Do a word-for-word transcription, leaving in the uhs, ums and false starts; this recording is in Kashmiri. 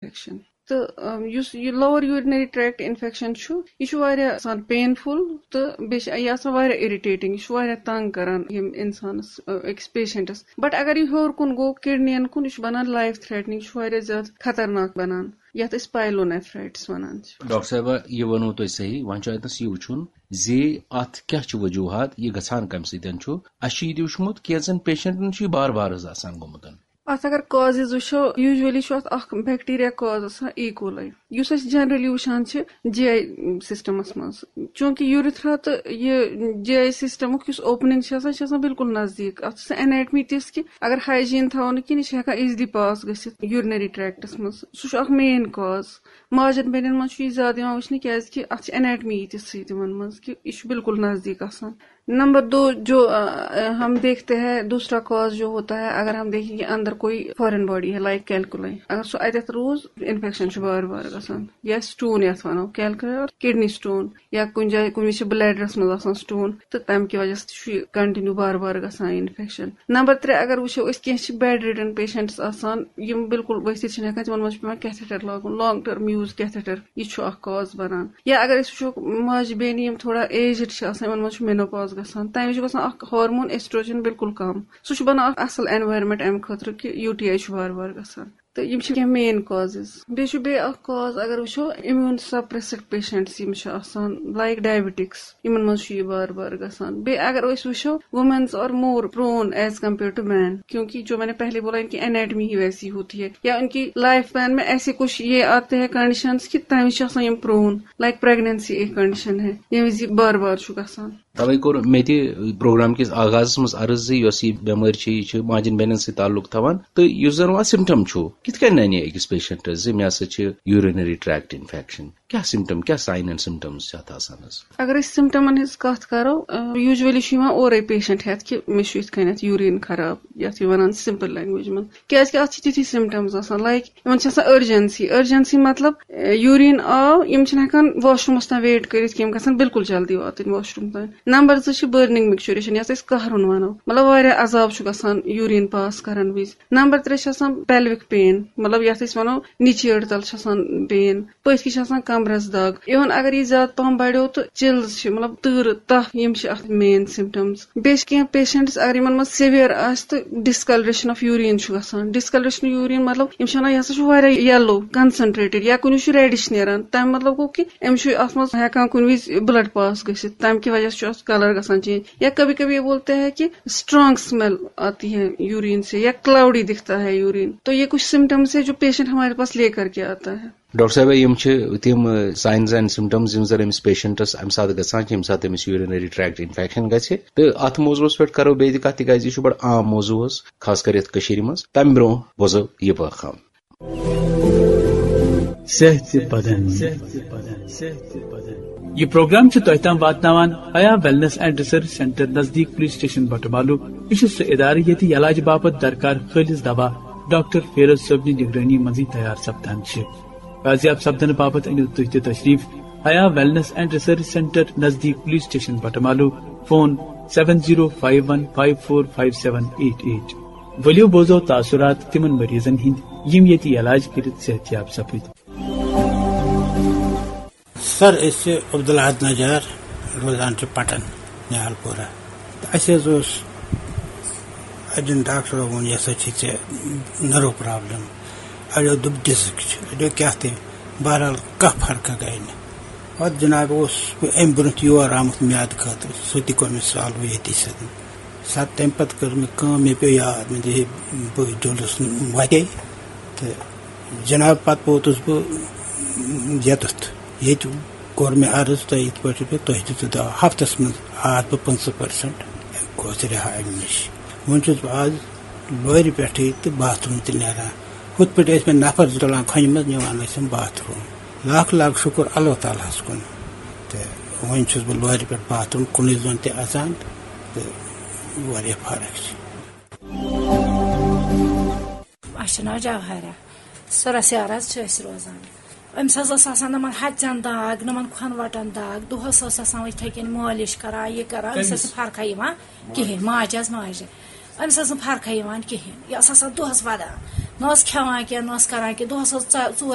انفیکشن۔ تہٕ یُس یہِ lower urinary tract infection چھُ، یہِ چھُ واریاہ آسان painful، تہٕ بیٚیہِ چھِ یہِ آسان واریاہ irritating، یہِ چھُ واریاہ تنگ کران یِم انسانس، أکِس پیشنٹس۔ بٹ اگر یہِ ہیوٚر کُن گوٚو، کڈنین کُن، یہِ چھُ بنان life threatening، یہِ چھُ واریاہ زیادٕ خطرناک بنان، یتھ أسۍ pyelonephritis ونان چھِ۔ ڈاکٹر صٲبہ، یہِ ووٚنوٕ تۄہہِ صحیح۔ وۄنۍ چھُ اتنس یہِ وٕچھُن زِ اتھ کیاہ چھِ وجوہات، یہِ گژھان کمہِ سۭتۍ چھُ۔ اسہِ چھُ یہِ تہِ وٕچھمُت کینٛژن پیشنٹن چھُ یہِ بار بار حظ آسان گوٚمُت۔ اتھ اگر causes وٕچھو، usually چھُ اتھ اکھ bacteria cause آسان، E. coli، یُس أسۍ generally وٕچھان چھِ GI systemس منٛز۔ چوٗنٛکہِ urethra تہٕ یہِ GI systemُک یُس opening چھِ آسان، یہِ چھِ آسان بالکل نزدیٖک۔ اتھ چھِ سۄ anatomy تِژھ کہِ اگر hygiene تھاوو نہٕ کِہیٖنۍ، یہِ چھِ ہٮ۪کان easily pass گٔژھِتھ urinary tract منٛز۔ سُہ چھُ اکھ main cause۔ ماجن بیٚنٮ۪ن منٛز چھُ یہِ زیادٕ یِوان وٕچھنہٕ، کیازِ کہِ اتھ چھِ anatomy تِژھٕے تِمن منٛز کہِ یہِ چھُ بالکل نزدیٖک آسان۔ نمبر دو، جو ہم دیکھتے ہیں، دوسرا cause جو ہوتا ہے، اگر ہم دیکھیں کہ اندر کوئی foreign body ہے، like calculi، اگر سُہ اتٮ۪تھ روٗز، infection چھُ بار بار گژھان۔ یا stone یتھ ونو، calculi اور kidney stone، یا کُنہِ جایہِ کُنہِ وِزِ چھِ bladderس منٛز آسان stone، تہٕ تمہِ کہِ وجہ سۭتۍ چھُ یہِ continue بار بار گژھان infection۔ نمبر ترٛےٚ، اگر وٕچھو أسۍ، کینٛہہ چھِ bedridden patients آسان، یِم بالکل ؤتھِتھ چھِنہٕ ہٮ۪کان، تِمن منٛز چھُ پٮ۪وان catheter لاگُن، long term use catheter، یہِ چھُ اکھ cause بنان۔ یا اگر أسۍ وٕچھو، ماجہِ بیٚنہِ یِم تھوڑا aged چھِ آسان، یِمن منٛز چھُ menopause گژھان، تمہِ وِزِ چھُ گژھان اکھ hormone estrogen بالکل کم، سُہ چھُ بنان اکھ اصل environment امہِ خٲطرٕ کہِ UTI چھُ بار بار گژھان۔ تہٕ یِم چھِ کینٛہہ main causes۔ بیٚیہِ چھُ بیٚیہِ اکھ cause، اگر وٕچھو، immune suppressed patients یِم چھِ آسان، like diabetics، یِمن منٛز چھُ یہِ بار بار گژھان۔ بیٚیہِ اگر أسۍ وٕچھو، women's are more prone as compared to men، کیونکہ جو میں نے پہلے بولا، ان کی anatomy ہی ویسی ہوتی ہے، یا ان کی life span میں ایسے کچھ یہ آتے ہیں conditions کہ تمہِ وِزِ چھِ آسان یِم prone، like pregnancy ایک condition ہے، ییٚمہِ وِزِ یہِ بار بار چھُ گژھان۔ توے کوٚر مےٚ تہِ پروگرام کِس آغازس منٛز عرض زِ یۄس یہِ بٮ۪مٲرۍ چھِ، یہِ چھِ ماجن بیٚنٮ۪ن سۭتۍ تعلق تھاوان، تہٕ یُس زن وۄنۍ symptom چھُ، کِتھ کٔنۍ ننہِ أکِس پیشنٹس زِ مےٚ ہسا چھِ urinary tract infection؟ کیٛاہ symptom، کیٛاہ sign and symptoms چھِ اتھ آسان حظ؟ اگر أسۍ symptomن ہٕنٛز کتھ کرو، usually چھُ یِوان اورے patient ہٮ۪تھ کہِ مےٚ چھُ یِتھ کٔنٮ۪تھ urine خراب، یتھ یہِ ونان simple language منٛز، کیازِ کہِ اتھ چھِ تِتھی symptoms آسان، like یِمن چھِ آسان urgency، urgency مطلب، urine آو، یِم چھِنہٕ ہٮ۪کان washroomس تام wait کٔرِتھ کینٛہہ، یِم گژھن بالکل جلدی واتٕنۍ washroom تام۔ نمبر زٕ چھِ burning micturition، یتھ أسۍ قہرُن ونو، مطلب واریاہ عذاب چھُ گژھان urine pass کرن وِزِ۔ نمبر ترٛےٚ چھِ آسان pelvic pain، مطلب یتھ أسۍ ونو نِچہِ أڑ تل چھِ آسان pain، پٔتۍ کِنۍ چھِ آسان کمرس دگ۔ Even اگر یہِ زیادٕ پہم بڑیو تہٕ chills چھِ، مطلب تۭرٕ، تپھ، یِم چھِ اتھ main symptoms۔ بیٚیہِ چھِ کینٛہہ patients، اگر یِمن منٛز severe آسہِ تہٕ discoloration of urine چھُ گژھان۔ Discoloration of urine مطلب یِم چھِ ونان، یہِ ہسا چھُ واریاہ yellow concentrated، یا کُنہِ چھُ reddish نیران، تَمہِ مطلب گوٚو کہِ أمِس چھُ اَتھ منٛز ہٮ۪کان کُنہِ وِزِ blood pass گٔژھِتھ، تَمہِ کہِ وجہ سۭتۍ چھُ اَتھ colour گژھان change۔ یا کبھی کبھی یہ بولتے ہیں کہ strong smell آتی ہے urine سے، یا cloudy دکھتا ہے urine۔ تو یہ کچھ symptoms ہے جو patient ہمارے پاس لے کر کے آتا ہے۔ ڈاکٹر صٲبہ، یِم چھِ تِم signs and symptoms یِم زَن أمِس پیشنٹس اَمہِ ساتہٕ گژھان چھِ، ییٚمہِ ساتہٕ أمِس urinary tract infection گژھِ۔ تہٕ اَتھ موضوعس پٮ۪ٹھ کرو بیٚیہِ تہِ کَتھ، تِکیازِ یہِ چھُ بڑٕ عام موضوع حظ، خاص کر یَتھ کٔشیٖرِ منٛز۔ تَمہِ برونٛہہ بوزو یہِ پیغام۔ صحت بدن۔ یہ پروگرام چھُ تۄہہِ تام واتناوان حیا ویلنس اینڈ ریسرچ سینٹر نزدیک پولیس سٹیشن بٹمالو۔ یہِ چھُ سُہ ادارٕ ییٚتہِ علاج باپتھ درکار خٲلص دوا ڈاکٹر فیروز صٲبنہِ نگرٲنی منٛزٕے تیار سپدان چھِ۔ فیاضیاب سپدنہٕ باپتھ أنِو تُہۍ تہِ تشریف حیا ویلنس اینڈ ریسرچ سینٹر نزدیک police station Batamaloo. Phone seven zero five one five four five seven eight eight۔ ؤلِو بوزو تاثرات تِمن مریضن ہٕنٛدۍ یِم ییٚتہِ علاج کٔرِتھ صحت یاب سپٕدۍ۔ سر، أسۍ چھِ عبدالاحد نجار، روزان چھِ پٹن، نہال پورہ۔ تہٕ اَسہِ حظ اوس اَجَن ڈاکٹرو ووٚن، یہِ ہسا چھِ ژےٚ نٔرٕو پرابلم، اَڑیو دوٚپ ڈِسک چھِ، اَڑیو کیٛاہ تہِ، بہرحال کانٛہہ فرقہ گٔے نہٕ۔ پَتہٕ جناب اوس بہٕ اَمہِ برونٛٹھ یور آمُت میادٕ خٲطرٕ، سُہ تہِ کوٚر مےٚ سالو ییٚتی سۭتۍ۔ سر، تَمہِ پَتہٕ کٔر مےٚ کٲم، مےٚ پیوٚو یاد، مےٚ دوٚپ، ہے، بہٕ جُلُس وَتے تہٕ جناب، پَتہٕ ووتُس بہٕ ییٚتٮ۪تھ۔ ییٚتہِ کوٚر مےٚ عرض تۄہہِ یِتھ پٲٹھۍ پٲٹھۍ، تۄہہِ دِژوٕ دوا۔ ہفتس منٛز آس بہٕ پٕنٛژٕہ percent گوس رِہا اَمہِ نِش۔ وۄنۍ چھُس بہٕ آز لورِ پٮ۪ٹھٕے تہٕ باتھ روٗم تہِ نیران۔ ہُتھ پٲٹھۍ ٲسۍ مےٚ نفر زٕ تُلان کھۄنہِ منٛز، نِوان ٲسِم باتھ روٗم۔ لاکھ لاکھ شُکُر اللہ تعالیٰ ہَس کُن۔ تہٕ وۄنۍ چھُس بہٕ لورِ پٮ۪ٹھ باتھ روٗم کُنُے زوٚن تہِ اَژان تہٕ واریاہ فرق چھِ۔ اَسہِ چھُ ناو جوہرہ۔ سُرس یارس چھِ أسۍ روزان۔ أمِس حظ ٲس آسان نَمَن ہَژٮ۪ن داگ، نَمَن کھۄنہٕ وَٹَن داگ، دۄہَس ٲس آسان یِتھَے کٔنۍ مٲلِش کَران، یہِ کَران، أمِس ٲس نہٕ فرقہ یِوان کِہیٖنۍ، ماجہِ حظ ماجہِ۔ أمِس ٲس نہٕ فرقہ یِوان کِہیٖنۍ، یہِ ٲس آسان دۄہَس وَدان۔ نہ ٲس کھٮ۪وان کینٛہہ، نہ ٲس کران کینٛہہ، دۄہس ٲس ژ- ژور